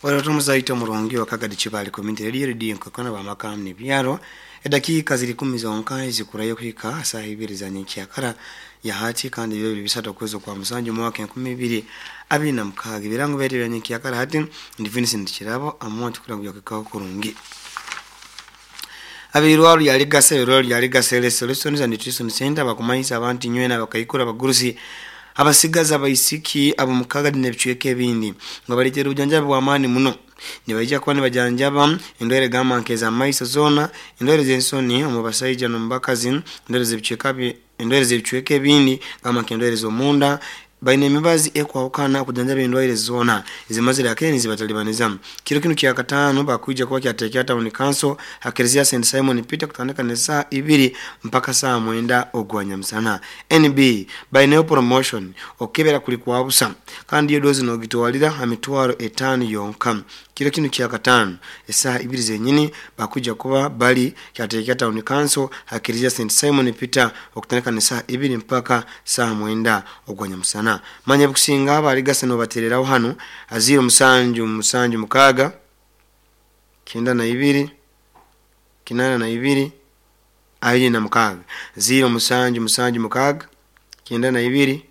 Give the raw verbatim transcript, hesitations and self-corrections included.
Watomuzaito omurungi wa Kagadi Kibali Community Radio, Radio nkakona bamaka nebyaro. Edakiika ziri kumi zonka ezikurayo kuhika saa ibiri za nyenkyakara ya hati, kandi bibiri bisatu okwezi kwa musanju mwaka enkumi ibiri abiri na mukaaga. Ebirango byaitu bya nyenkyakara hati ndi Vincent Kirabo amonti kurango byakikaho kurungi. Abirwaro lya Ligasa, ebirwaro lya Ligasa Health Solutions and Nutrition Center bakumanyisa abantu nywena, abakaikuru, abagurusi, abasigazi, abaisiki ab'omu Kagadi n'ebicweka ebindi nga baleetera obujanjabi bw'amaani muno. Nibaija kuba nibajanjaba endwaire gamba nk'ez'amaiso zoona, endwaire z'ensoni omu basaija n'omu bakazi, endwaire z'ebicweka bi- endwaire z'ebicweka ebindi gamba nk'endwaire z'omunda. Baine emibazi ekwahukana okujanjaba endwaire zoona ezimazire akene nizibatalibaniza. Kiro kinu kyakataano bakwija kuba kyateekera Town Council ha Kereziya Saint Simon Peter kutandika n'esaaha ibiri mpaka saaha mwenda ogwa nyamusana. N B baineyo promotion, okukebera kuli kwa busa kandi iyo dozi nogitwalira ha mitwaro etaano yonka. Kiro kinu kyakataano esaaha ibiri zenyini bakwija kuba bali kyateekera Town Council ha Kereziya Saint Simon Peter okutandika n'esaaha ibiri mpaka saaha mwenda ogwa nyamusana. Manya bikusinga abaligasa nobatereraho hanu ha ziro musanju musanju mukaaga kyenda na ibiri kinaana na ibiri abiri na mukaaga, ziro musanju musanju mukaaga kyenda na ibiri.